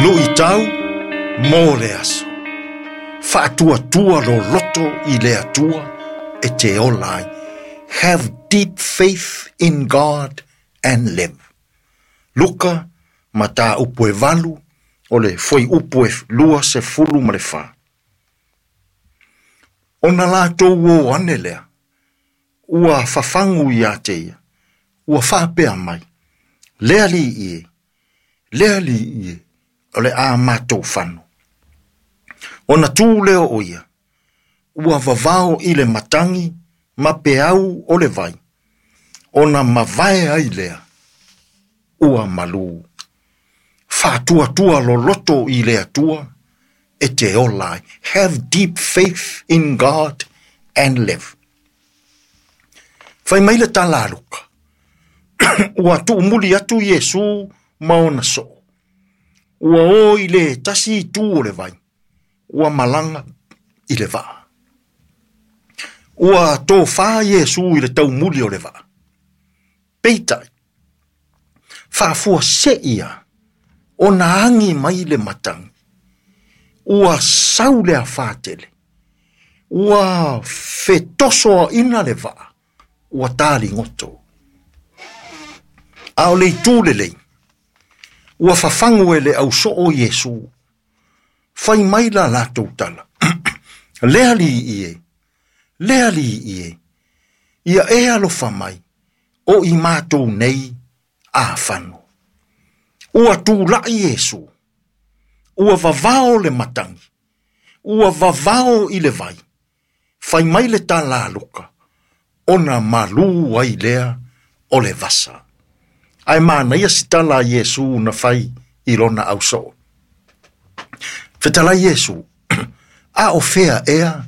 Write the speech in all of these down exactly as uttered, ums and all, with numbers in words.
Luʻitau mo le aso. Faatuatua lo loto i le Atua e te ola ai. Have deep faith in God and live. Luka mataupu e valu o le fuaiupu e lua sefulu ma le fa. Ona latou o ane lea, ua fafagu ia te ia, ua faapea mai, le Alii e, le Alii e, o le a matou fano. Ona tu lea o ia, ua vavao i le matagi ma peau o le vai, ona mavae ai lea, ua malū. Faatuatua loloto i le Atua, e te ola ai. Have deep faith in God and live. Fai mai le tala a Luka. Ua tuumuli atu Iesu ma ona soo. Ua o i le tasi itu o le vai. Ua malaga i le vaa. Ua tofā Iesu i le taumuli o le vaa. Peitai, faafuasei ia ona agi mai le matagi. Ua sau le afā tele. Ua fetosoaina le vaa. Ua taligoto. A o le itu lelei, ua fafagu e le ausoo Iesu. Fai mai la latou tala. Le Alii e, le Alii e, ia e alofa mai, o i matou nei afano. Ua tulai Iesu, ua vavao le matagi, ua vavao i le vai, fai mai le tala a Luka, ona malū ai lea o le vasa. Ae manaia si tala a Iesu na fai i lona ausoo. Fetalai Iesu, a o fea ea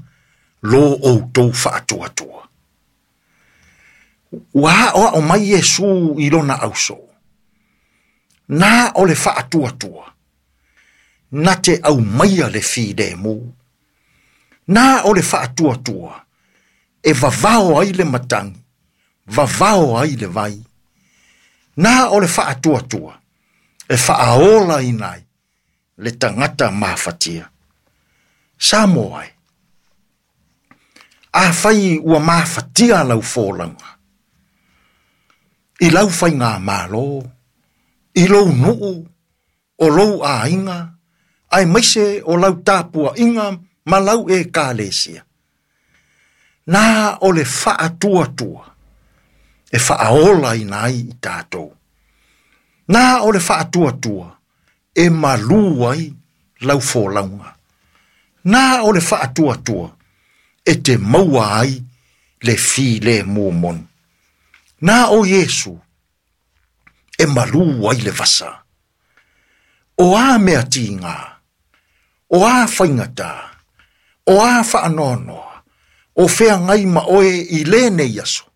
lo outou faatuatua. Ua aoao mai Iesu i lona ausoo. Na o le faatuatua, na te aumaia le filemu. Na o le faatuatua, e vavao ai le matagi, vavao ai le vai. Na o le faatuatua, e faaolaina ai le tagata mafatia. Samoa e, afai ua mafatia lau folauga, i lau faigamalo, i lou nuu, o lou aiga, aemaise o lau tapuaiga ma lau ekalesia. Na o le faatuatua, e faaolaina ai i tatou. Na o le faatuatua, e malū ai lau folauga. Na o le faatuatua, e te maua ai le filemu moni. Na o Iesu, e malū ai le vasa. O a mea tiga, o a faigata, o a faanoanoa, o feagai ma oe i lenei aso.